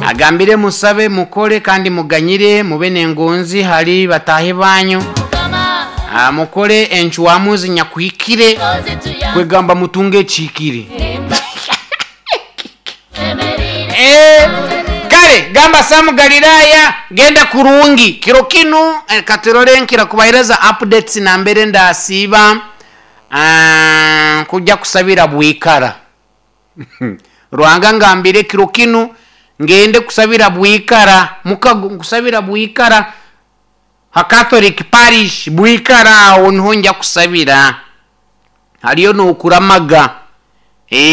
Agambire musabe, mukole kandi muganyire, mube n'engonzi hali bataahi banyu. Mukole encwamu zinyakuhikire, kwegamba mutunge ekihikire. Eh, kale gamba Samu Galilaya genda kurungi kiro kinu. Katurole nkira kubahereza updates nambere ndasiiba kujya kusabira Bwikara. Ruhanga ngambire kiro kinu ngende kusabira Bwikara, mukago nkusabira Bwikara ha Catholic Parish Bwikara, aho niho nja kusabira, haliyo n'okuramaga.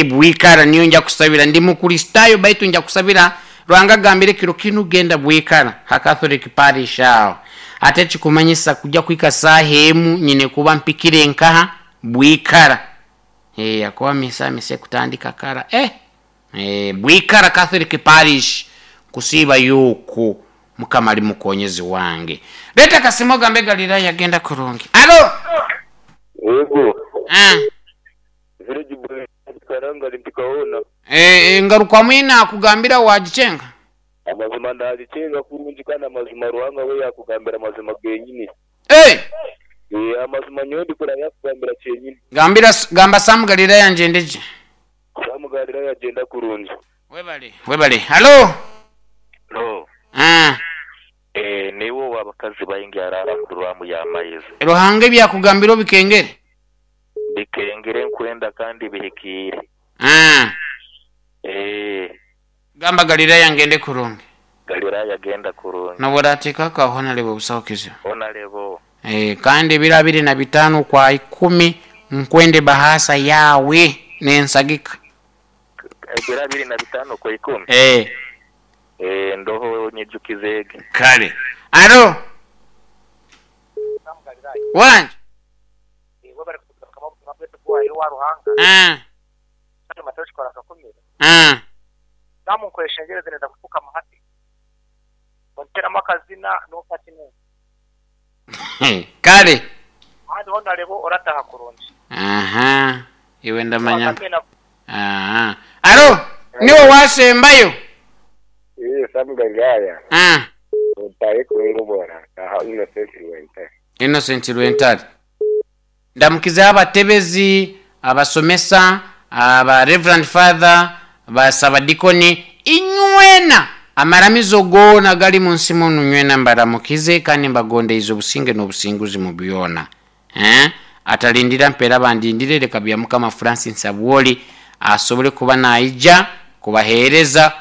Bwikara niyo nja kusabira. Ndi Mukristayo baitu nja kusabira. Ruhanga agambire kiro kinu genda Bwikara ha Catholic Parish aho. Ate kikumanyisa kujya kwika saaha emu nyine kuba mpikire nkaha Bwikara. Akuba misa ekutandika kara. Bwikara Catholic Parish kusiiba yuku. Mukama ali mukonyezi wange. Leta kasimo gambe Galilaya genda kurungi. Alo. Yego. Ah. Village boy Karanga mpikaona. Ngaruka mwina akugambira wagichenga. Amazima ndagichenga kurungi kandi amazima Ruhanga we yakugambira amazima genyini. Amazima nyowe ndikora yakugambira kyenyini. Gambira gamba Sam Galilaya njendeje. Sam Galilaya agenda kurungi. Webale. Webale. Halo. Lo. Ah. Niwo wabakazi baingi arara kurwamu ya maizi. Ruhanga ebyakugambira obikengere. Bikengere nkwenda kandi bihikire. Ah. Gamba Galilaya ngende kurungi. Galilaya genda kurungi. Noburatika ka honalebo busaho kizibu. Honalebo. Kandi ebiro 25 kwa 10 nkwende bahasa yawe nensagika. Ebiro 25 kwa 10. Ndoho nyijukizege. Kale. Alo. Wanje. Ah. Ah. Kale. Aha. Iwe ndamanya. Aha. Alo, niwe wasembayo. Sam Galilaya. Ah. Utaye kurungu bora. Aha, Innocent Rwentare. Innocent Rwentare. Ndamukiza abatebezi, abasomesa, aba Reverend Father, basabadikoni inywena amaramizo gona gali mu nsi muno nywena mbaramukize kandi mbagondeize obusinge n'obusinguzi mu byona. Atalindira mpera bandindire leka bya Mukama Francis Abwoli asobole kuba naija kubaheereza.